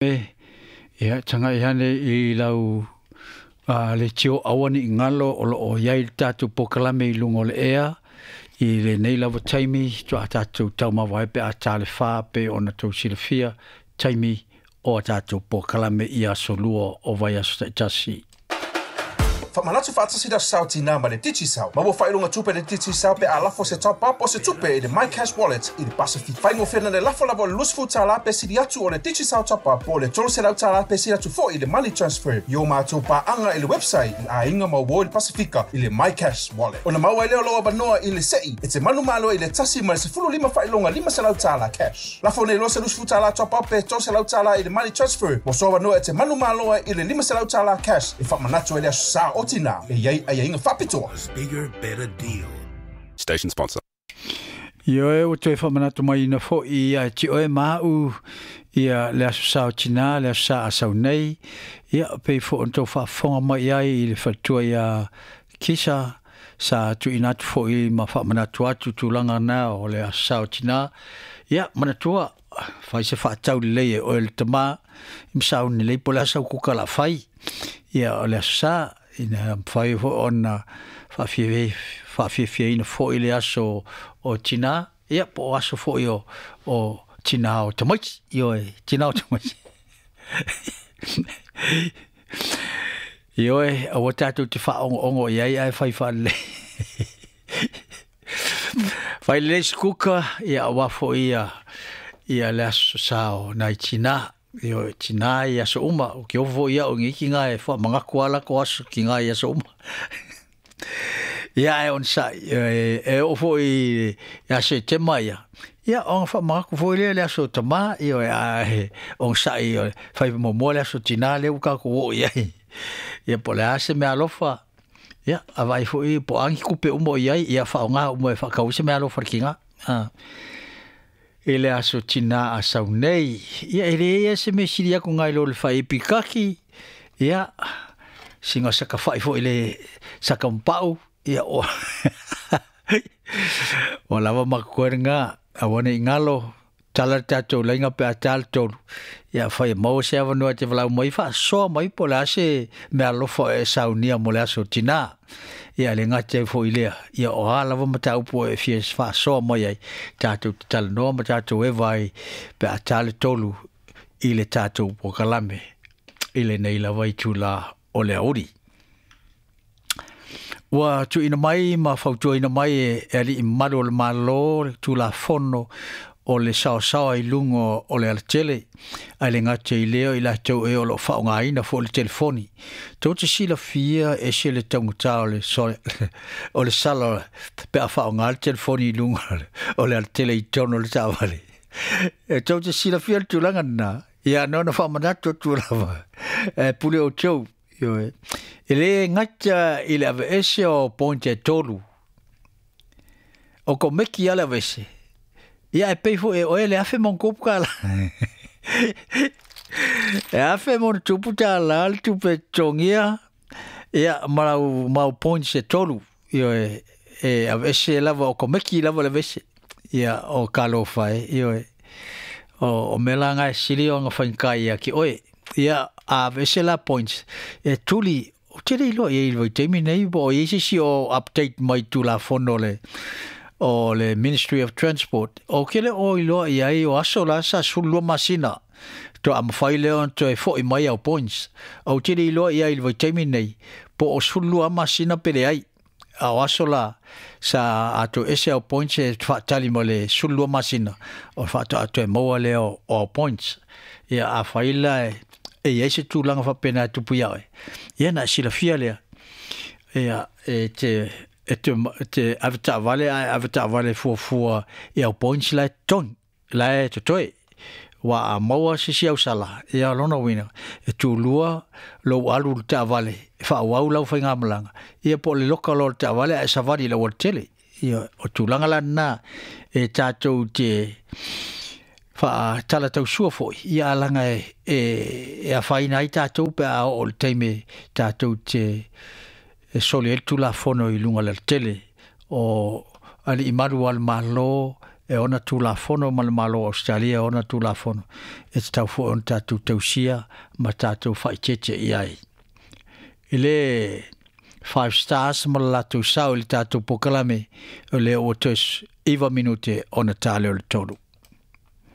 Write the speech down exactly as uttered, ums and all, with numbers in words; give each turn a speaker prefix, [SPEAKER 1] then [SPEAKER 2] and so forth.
[SPEAKER 1] Ia tagai ane i lau a le tio aua ne i galo o loo iai le tatou polokalame i luga o le ea i lenei lava taimi toa tatou taumava ai pe a ta le fa pe ona tou silafia taimi o a tatou polokalame i aso lua o vaiaso taitasi.
[SPEAKER 2] Faamanatu faatasi le Aso Sa o Tinā ma le Digicel. Maua faailoga tupe le Digicel pe a lafo se top up o se tupe i le MyCash Wallet i le Pasifika. Faigofie na le lafo lava o le luasefulu tala pe sili atu o le Digicel top up po o le tolu selau tala pe sili atu foi i le money transfer i o matou paaga i le website i aiga ma uo i le Pasifika i le MyCash Wallet. Ona maua ai lea o lou avanoa i le sei e te manumalo i le tasi ma le sefulu lima faailoga lima selau tala cash. Lafo nei loa se luasefulu tala top up pe tolu selau tala i le money transfer mo so avanoa e te manumalo ai i le lima selau tala cash e faamanatu ai le Aso Sa o Tinā e i ai aiaiga faapitoa.
[SPEAKER 3] Bigger, better deal.
[SPEAKER 4] Station sponsor.
[SPEAKER 1] Ioe, ua toe faamanatu mai ina foʻi ia te oe ma aʻu ia le Aso Sa o Tinā, le Aso Sa a sau nei. Ia pei foʻi ona tou faafofoga mai ai i le faletua ia Kisa sa tuuina atu foʻi ma faamanatu atu tulaga na o le Aso Sa o Tinā. Ia manatua fai se faatau lelei e oe le tamā i masauni lelei po o le a sau kuka la fai. Ia o le Aso Sa ina mafai foʻi ona faafiafiaina foʻi le aso o tinā, ia po o aso foʻi o o tinā o tamaiti, ioe, tinā o tamaiti. Ioe, aua tatou te faaogo'ogo i ai ae fai faalelei. Fai lelei se kuka, ia auā foʻi ia ia le aso sa o nai tinā. Ioe, tinā i aso uma, o ke ofo foʻi aʻu i kiga e faamagaku a lako aso kiga i aso uma. Ia e onosaʻi e, e oo foʻi ia Setema ia. Ia ona faamagaku foi lea le aso tamā, ioe, ae onosaʻi fai muamua le aso tinā lea ua tatou oo i ai. Ia po o le a se mea alofa, ia avaai foʻi po o a ni tupe uma o i ai, ia faaaogā uma e faatau ai se mea alofa i le kiga. Ah. I le aso tinā a sau nei. Ia e leai lava se mea sili atu nai lo le faaipi kaki, ia siga saka fa'i fo'i le saka mapa'u, ia o ua lava ma totoe lagā. Aua nei galo tala le tatou laiga pe a tā le tolu. Ia fai e maua se avanoa e te valaau mai faasoa mai po o le a se mea alofa e saunia mo le aso tinā. Ia le gata ai foʻi lea, ia o a lava mataupu e fia faasoa mai ai tatou te talanoa ma tatou eva ai pe a tā le tolu i le tatou polokalame i lenei lava itulā o le aoauli. Ua tuuina mai ma fautuaina mai e alii mamalu o le Malo le Tulafono o le saosaoa i luga o le alatele, ae le gata i lea i latou ē o loo faaaogāina foʻi le telefoni. Tou te silafia e ese le taugatā o le o le sala pe a faaaogā le telefoni i luga o le alatele i totonu o le taavale. E tou te silafia le tulaga lenā? Ia na ona faamanatu atu lava e pule outou. Ioe, e lē gata i le aveese o point e tolu o komeki a le aveese, ia e pei foʻi e oe le afe ma ona tupu tālā. E afe ma ona tupu tālā le tupe totogia ia ma lau mau points e tolu. Ioe, e aveese lava o komeki lava le aveese. Ia o talofa e, ioe, o, o mea la e sili ona faigata ia ki oe. Ia a aveese la points e tuli ou te le iloa i ai i le vaitaimi nei po o i ai se isi o update mai Tulafono le o le Ministry of Transport o ke le o iloa i ai o aso la sa sefululua masina toa mafai lea ona toe foʻi mai au points. Ou te le iloa i ai i le vaitaimi nei po o sefululua masina pe leai, a o aso la sa a toe ese au points e faatali ma le sefululua masina o faatoa toe maua lea o, o au points. Ia afai la e e iai se tulaga faapena e tupu iā oe, ia na e silafia lea. Ia e te e te, te ave taavale ae ave taavale fuafua i au points la e totogi la e totoe ua a maua se isi ausala. Ia lona uiga e tulua lou alu i le taavale e faaauau lau faigamalaga, ia po o le loka loa o le taavale ae savali i le aualatele. Ia o tulaga la lenā e tatou te faatalatau foʻi ia alaga e e e afaina ai tatou pe a oo i le taimi tatou te e soli ai le Tulafono i luga o le alatele o alii malu o le Malo. E ona tulafono ma le Malo o Ausetalia ona tulafono e tatau foi ona tatou tausia ma tatou faaeteete i ai. I le Five Stars ma le latou sao i le tatou pokalame, o lea ua toe iva minute ona tale o le tolu.